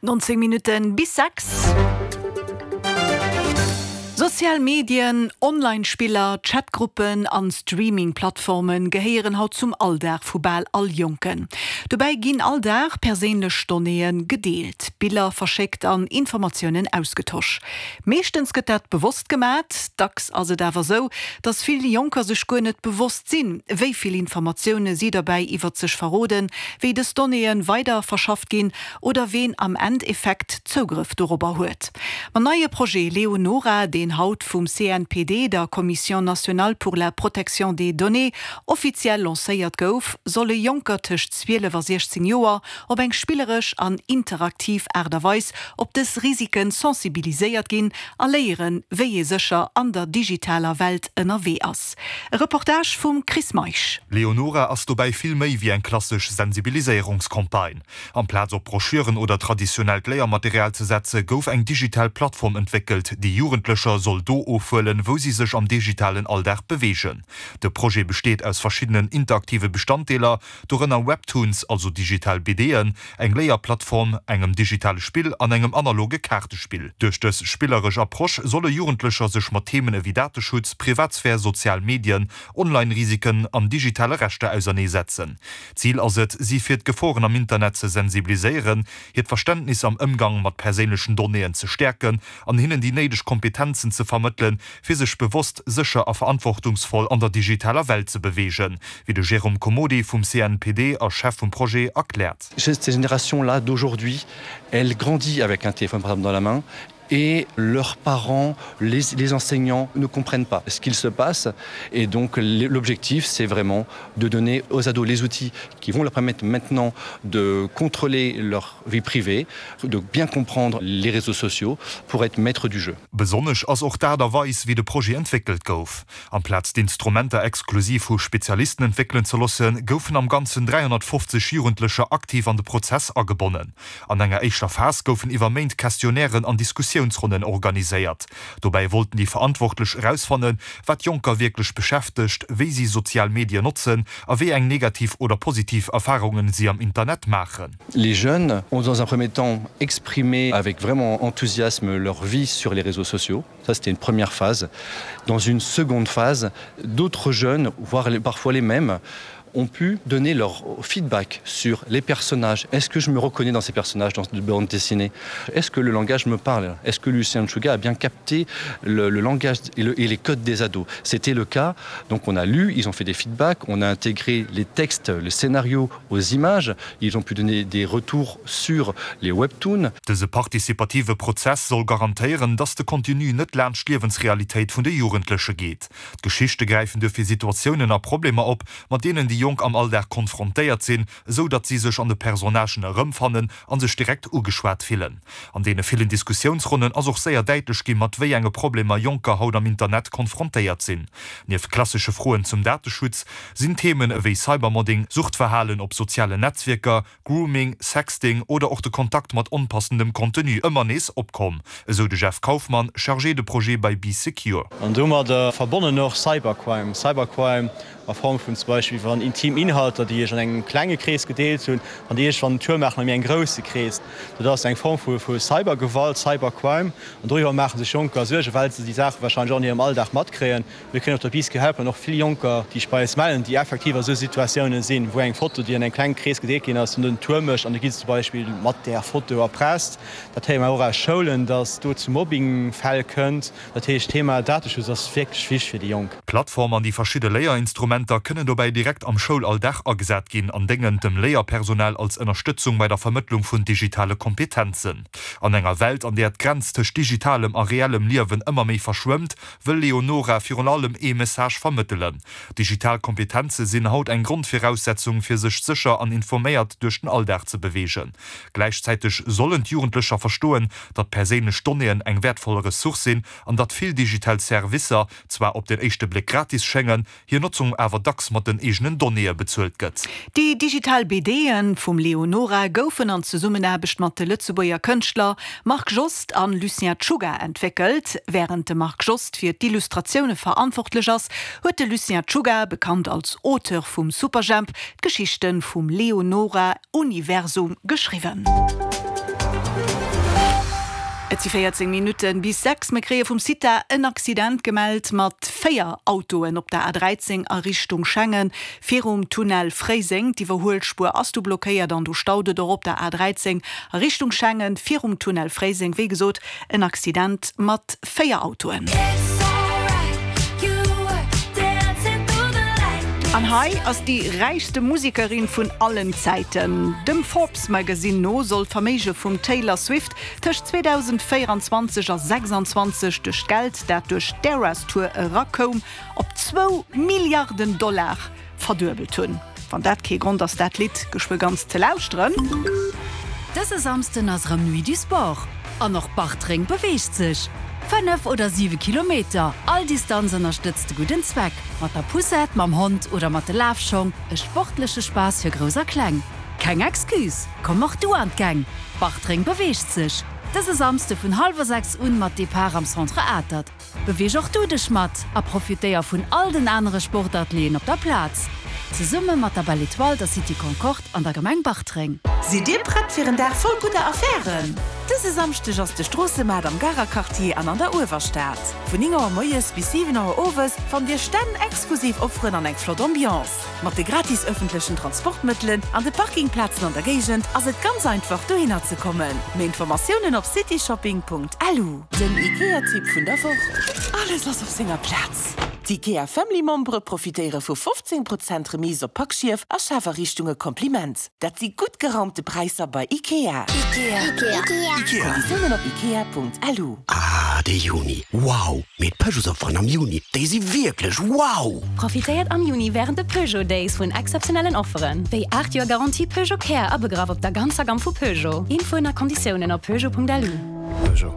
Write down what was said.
19 Minutten bis 6. Sozial Medien, Online-Spiller, Chatgruppen an Streaming-Plattforme gehéieren haut zum Alldag vu bal all Jonken. Dobäi ginn all Dag perséinlech Donnéeë gedeelt, Biller verschéckt an Informatiounen ausgetosch. Meeschtens gëtt dat bewosst gemat, dacks ass et awer sou, dass vill Jonker sech guer net bewosst sinn, wéi vill Informatioune si dobäi iwwert sech verroden, wéi dës Donnéeë weider verschafft ginn oder ween am Endeffekt Zougrëff dorobber huet. Mam neie Projet Leonora, deen haut vum CNPD, der Commission nationale pour la protection des données, offiziell lancéiert gouf, solle Jonker tëscht 12 a 16 Joer op eng spilleresch an interaktiv Aart a Weis op dës Risiken sensibiliséiert ginn a léieren, wéi ee sécher an der digitaler Welt ënnerwee ass. E Reportage vum Chris Meisch. Leonora ass dobäi vill méi wéi eng klassesch Sensibiliséierungscampagne. Amplaz op Broschüren oder traditionellt Léiermaterial ze setze gouf eng digital Plattform entwéckelt, déi Jugendlecher soll do ofhuelen, wou si sech am digitalen Alldag beweegen. De Projet besteet aus verschiddenen interaktive Bestanddeeler, dorënner Webtoons, also digital BDen, eng Léierplattform, engem digitale Spill an engem analoge Kaartespill. Duerch dës spilleresch Approche solle Jugendlecher sech mat Themen ewéi Dateschutz, Privatsphär, sozial Medien, Online-Risiken an digitale Rechter auserneesetzen. Zil ass et, si fir d'Geforen am Internet ze sensibiliséieren, hiert Verständnis am Ëmgang mat perséinlechen Donnéeën ze stäerken an hinnen déi néideg Kompetenzen ze vermëttelen, fir sech bewosst, sécher a verantwortungsvoll an der digitaler Welt ze beweegen, wéi de Jérôme Comodi vum CNPD a Chef vum Projet erkläert. Cette génération-là d'aujourd'hui, elle grandit avec un téléphone portable dans la main et leurs parents, les, les enseignants ne comprennent pas ce qu'il se passe et donc l'objectif c'est vraiment de donner aux ados les outils qui vont leur permettre maintenant de contrôler leur vie privée, de bien comprendre les réseaux sociaux pour être maître du jeu. Besonnesch ass och d'Aart a Weis, wéi de Projet entwéckelt gouf. Amplaz d'Instrumenter exklusiv vu Spezialisten entwéckelen ze loossen, goufen am Ganzen 350 Jugendlecher aktiv an de Prozess agebonnen. An enger éischter Phas goufen iwwer Méint Questionnairen an Diskussiounsronnen organiséiert. Dobäi wollten déi Verantwortlech erausfannen, wat Jonker wierklech beschäftegt, wéi si sozial Medien notzen a wéi eng negativ oder positiv Erfarungen si am Internet maachen. Les jeunes ont dans un premier temps exprimé avec vraiment enthousiasme leur vie sur les réseaux sociaux. Ça c'était une première phase. Dans une seconde phase, d'autres jeunes, voire parfois les mêmes, ont pu donner leur feedback sur les personnages. Est-ce que je me reconnais dans ces personnages dans de bande dessinée Est-ce que le langage me parle Est-ce que Lucien Chouga a bien capté le, le langage et, le, et les codes des ados C'était le cas. Donc on a lu, ils ont fait des feedbacks, on a intégré les textes, le scénario aux images, ils ont pu donner des retours sur les webtoons. Dëse participative Prozess soll garantéieren, dass de Contenu net laanscht d'Liewensrealitéit vun de Jugendleche geet. D'Geschichte gräifen duerfir Situatiounen a Problemer op, mat deenen déi Jonk am Alldag konfrontéiert sinn, esou datt si sech an de Personnagen erëmfannen a sech direkt ugeschwat fillen. An deene villen Diskussiounsronnen ass och séier däitlech ginn, mat wéi enge Problemer Jonker haut am Internet konfrontéiert sinn. Nieft klassesche Froen zum Dateschutz sinn Themen ewéi Cybermodding, Suchtverhalen op sozialen Netzwierker, Grooming, Sexting oder och de Kontakt mat onpassendem Contenu ëmmer nees opkomm, esou de Jeff Kaufmann, Chargé de projet bei Bee Secure. An domadder verbonnen och Cybercrime. Cybercrime a Form vun zum Beispill wann intim Inhalter, déi ech an engem klenge Krees gedeelt hunn, wann déi iergendwann en Tour maachen a méi engem grousse Krees. Dat ass eng Form vu Cybergewalt, Cybercrime. An doriwwer maache sech Jonker Suergen, well se déi Saache warscheinlech och an hirem Alldag matkréien. Mir kréien op der Bee Secure Helpline och vill Jonker, déi sech bei eis mellen, déi effektiv a sou Situatiounen sinn, wou eng Foto, déi an engem klenge Krees gedeelt ginn ass, den Tour mécht an da gi se zum Beispill mat där Foto erpresst. Dat héiere mer och aus Schoulen, dass do zu Mobbingfäll kënnt. Dat heescht, d'Thema Dateschutz ass wierklech wichteg fir déi Jonk. D'Plattform an déi verschidde Léierinstrumenter kënnen dobäi direkt am Schoulalldag agesat ginn an déngen dem Léierpersonal als Ënnerstëtzung bei der Vermëttlung vun digitale Kompetenzen. An enger Welt, an där d'Grenz tëscht digitalem a reellem Liewen ëmmer méi verschwëmmt, wëll Leonora virun allem ee Message vermëttelen, Digital Kompetenze sinn haut eng Grondviraussetzung, fir sech sécher an informéiert duerch den Alldag ze beweegen. Gläichzäiteg sollen d'Jugendlecher verstoen, datt perséinlech Donnéeën eng wäertvoll Ressource sinn an datt vill digital Servicer zwar op den éischte Bléck gratis schéngen, hir Notzung awer dacks mat den eegenen Donnéeë bezuelt gëtt. Déi digital BDe vum Leonora goufen an Zesummenaarbecht mat de Lëtzebuerger Kënschtler Marc Jost an Lucien Czuga entwéckelt. Wärend de Marc Jost fir d'Illustratioune verantwortlech ass, huet de Lucien Czuga, bekannt als Auteur vum Superjhemp, d'Geschichte vum Leonora-Universum geschriwwen. Et si 14 Minutte bis 6. Mir kréie vum CITA en Accident gemellt mat 4 Autoen op der A13 a Richtung Schengen virum Tunnel Fréiseng. D'Iwwerhuelspuer ass do blockéiert an do staut et och op der A13 a Richtung Schengen virum Tunnel Fréiseng. Wéi gesot, En Accident mat 4 Autoen. An hei ass déi räichste Musekerin vun allen Zäiten. Dem Forbes Magazine no soll d'Verméige vum Taylor Swift tëscht 2024 a 26 duerch d'Geld, dat duerch d'Eras Tour erakoum, op zwou Milliarden Dollar verduebelt hunn. Wann dat kee Grond ass dat Lidd geschwë ganz ze lauschteren. Dëse Samsden ass erëm Nuit du Sport an och Bartreng beweegt sech. 5 oder 7 Kilometer, all Distanz ënnerstëtzt de gudden Zweck. Mat der Poussette, mam Hond oder mat de Lafschong, e sportleche Spaass fir Grouss a Kleng. Keng Excuse, komm och du an d'Gäng! Bartreng beweegt sech! Dëse Samsde vun hallwer 6 un mat Depart am Centre Atert. Beweeg och du dech mat a profitéier vun all den anere Sportatelieren op der Plaz. Zesumme mat der Belle Etoile, der City Concorde an der Gemeng Bartreng. Sidd Dir prett fir en Dag voll gudder Affären? Dëse Samschdeg ass de Stroossemaart am Garer Quartier an an der Uewerstad. Vun 9 Auer moies bis 7 Auer owes fannt Dir Stänn, exklusiv Offeren an eng flott Ambiance. Mat de gratis ëffentlechen Transportmëttelen an de Parkingplazen an der Géigend ass et ganz einfach dohinner ze kommen. Méi Informatiounen op cityshopping.lu. Den IKEA-Tipp vun der Woch, Alles ass op senger Plaz! D'IKEA Family Membere profitéiere vu 15 Prozent Remise op Packschief a Schafariichtunge Kompliment! Dat si gutt geraumte Präisser bei IKEA. Konditiounen op ikea.lu. Ah, de Juni, wow! Mee d'Peugeotsofferen am Juni, déi si wierklech wow! Profitéiert am Juni wärend de Peugeot Days vun exzeptionellen Offeren, wéi 8 Joer Garantie Peugeot Care abegraff op der ganzer Gamm vu Peugeot. Infoen a Konditiounen op peugeot.lu. Peugeot.